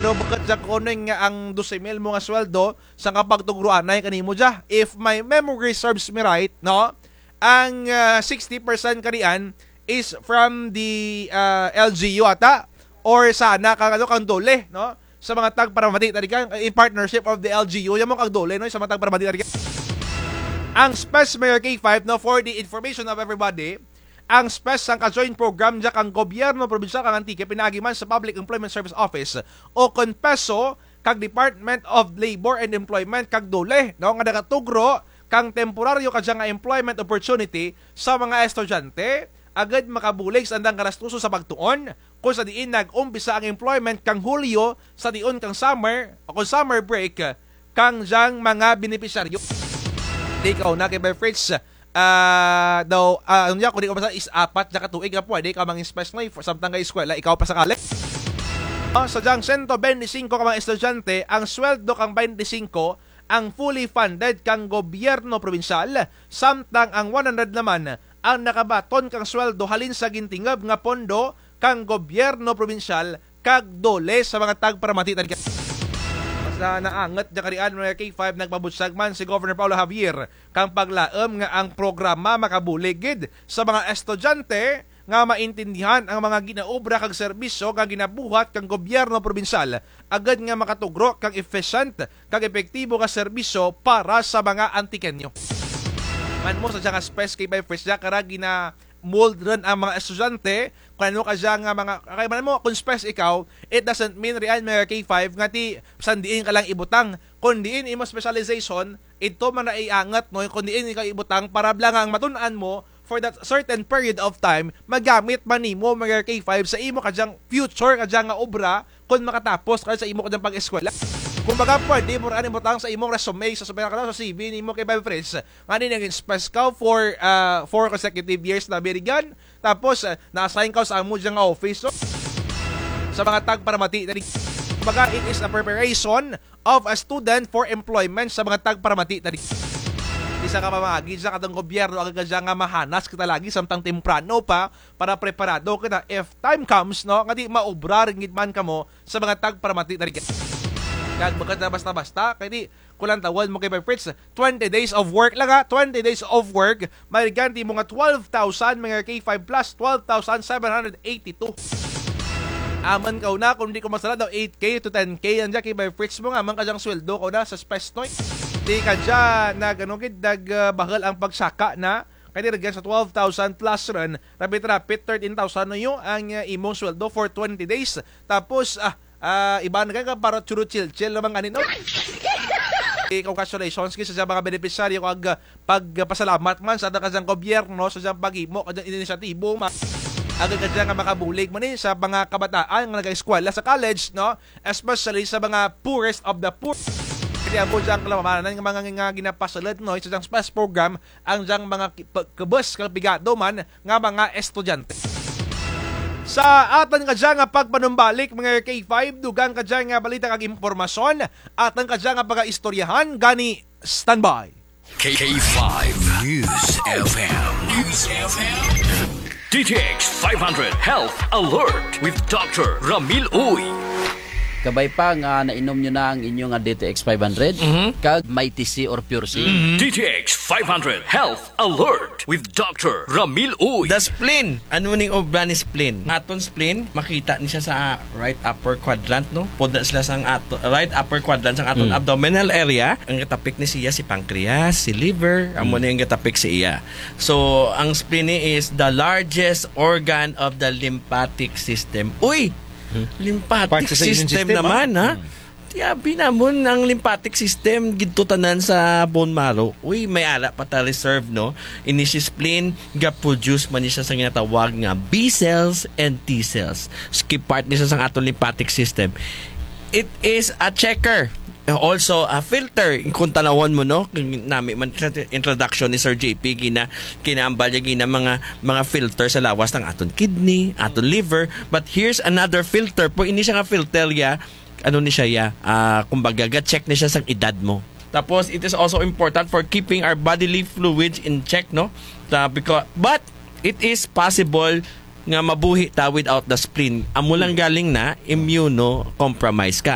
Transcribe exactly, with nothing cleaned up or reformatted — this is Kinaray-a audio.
So, bukut dya kuno nga ang dose mil mo nga sweldo, sangka pagtugro anay kanimo dya. If my memory serves me right, no? Ang, ah, sixty percent kaniyan is from the, ah, L G U ata, or sa ana kang, ano, kang DOLE, no? Sa mga tagparamati, tadi ka, in partnership of the L G U, dyan mo kang DOLE, no? Sa mga tagparamati, tadi ka. Ang SPES, Mayor K five, no, for the information of everybody, ang SPES sangka joint program dya kang gobyerno probinsyal kang Antique, pinaagi man sa Public Employment Service Office, ukon PESO, kag Department of Labor and Employment kag DOLE, no, nga nagatugro kang temporaryo kadya nga employment opportunity sa mga estudyante, agud makabulig sa andang garastuso sa pagtuon, kon sa diin nag-umpisa ang employment kang Hulyo, sa diin kang summer, o kon summer break, kang dyang mga benepisyaryo. Di kaw na kay Bay Fritz, ah, daw, ah, ano niya, kung di ko masala, is apat na katuig nga pwede ka mang-SPES, no, samtang ka eskwela, ikaw pa sakali. Ah, sa dyang sento bente singko ka mga estudyante, ang sweldo kang bente singko, ang fully funded kang gobyerno probinsyal, samtang ang one hundred naman, ang nakabaton kang sweldo halin sa gintingub nga pondo kang gobyerno probinsyal, kag DOLE sa mga tagparamati, tadi ka. Basta naangut dya karian, mga K five, nagpabutyag man si Governor Paolo Javier kang paglaum nga ang programa makabulig gid sa mga estudyante nga maintindihan ang mga ginaobra kag serbisyo nga ginabuhat kang gobyerno probinsyal, agud nga makatugro kang efficient kag epektibo nga serbisyo para sa mga Antiqueño. Man mo sa dyang SPES kay Bay Fritz dya, kara gina-mold run ang mga estudyante, kon ano kadya nga mga, kay man mo, kon SPES ikaw, it doesn't mean riyan, mga K five, nga ti, bisan diin ka lang ibutang, kon diin imo specialization, ito man na iangut, no, kon diin ikaw ibutang, para bala nga ang matun-an mo, for that certain period of time, magamit man nimo, mga K five, sa imo kadyang future, kadya nga obra, kon makatapos ka sa imo kadyang pag-eskwela. Kumbaga, pwede mo raan ibutang sa imong resume, sa, sa, sa C V nimo kay Bay Fritz, nga ni nag-SPES ka for, ah, four consecutive years na birigan. Tapos, ah, na-assign ka sa amo dyang office, no? Sa mga tagparamati, tadi. Kumbaga, it is a preparation of a student for employment sa mga tagparamati, tadi. Di sa kapamagi sa katong gobyerno, agud kadya nga mahanas kita lagi, samtang temprano pa, para preparado kita if time comes, no, nga ti maobra run gid man kamo sa mga tagparamati, tadi. Kag bukut na basta-basta, kay ti, kon lantawun mo kay Bay Fritz, twenty days of work lang, ha, twenty days of work, may ganti mo nga twelve thousand, mga K five plus, twelve thousand seven hundred eighty-two. Amun kaw na, kon di ko masala daw, eight K to ten K, andyan kay Bay Fritz mo nga, amun kadyang sweldo kaw na sa SPES, no? Di kadya, nag, ano, gid, nag, ah, bahul ang pagsaka na, kay ti run sa twelve thousand plus run, rapit-rapit, thirteen thousand na yung ang, ah, imong sweldo for twenty days. Tapos, ah, ah, iba na kay para churu-chilchil naman ani, no? Eh, congratulations gid sa mga benepisyaryo kag, ah, pagpasalamat man sa atun kadyang gobyerno sa dyang paghimo kadyang inisyatibo man. Agud kadya nga makabulig man ni sa mga kabataan nga nagaeskwela sa college, no? Especially sa mga poorest of the poor. Kaya mo dyang kalamanan nga mga nga ginapasulud, no, sa dyang SPES program, ang dyang mga ki-, pa-, kubos kag pigado man nga mga estudyante. Sa atun kadya nga pagpanumbalik, mga K five, dugang kadya nga balita kag impormasyon, atun kadya nga pagaistoryahan, gani standby. K five News F M. News F M. D T X five hundred Health Alert with Doctor Ramil Uy. Kabay pa nga nainom nyo na ang inyo nga D T X five hundred, mhm, kag Mighty C or Pure C. Mhm. D T X five hundred Health Alert with Doctor Ramil Uy. The spleen. Ano ning obra ni spleen? Aton spleen, makita ni siya sa right upper quadrant, no? Pod na sila sa ato, right upper quadrant sa aton, mm, abdominal area. Ang gatapik ni siya si pancreas, si liver, amo, mm, ni ang gatapik sa iya. So, ang spleen ni is the largest organ of the lymphatic system. Uy! Hmm. Lymphatic system naman, ha? Hmm. Ti abi namun ang lymphatic system, didto tanan sa bone marrow. Uy, may ara pa ta reserve, no? Ini si spleen, ga-produce man ni siya sa ginatawag nga B cells and T cells. Key part ni siya sa aton lymphatic system. It is a checker. Also a filter. Kung tanawon mo, no? Nami man sa introduction ni Sir J P, gina-, ginaambal niya gina mga, mga filter sa lawas ng aton kidney, aton liver. But here's another filter po. Ini siya nga filter ya, ano ni siya ya, ah, kumbaga, ga-check ni siya sa edad mo. Tapos, it is also important for keeping our bodily fluids in check, no? Ta-, because, but, it is possible nga mabuhi ta without the spleen. Amo lang galing na, immunocompromised ka.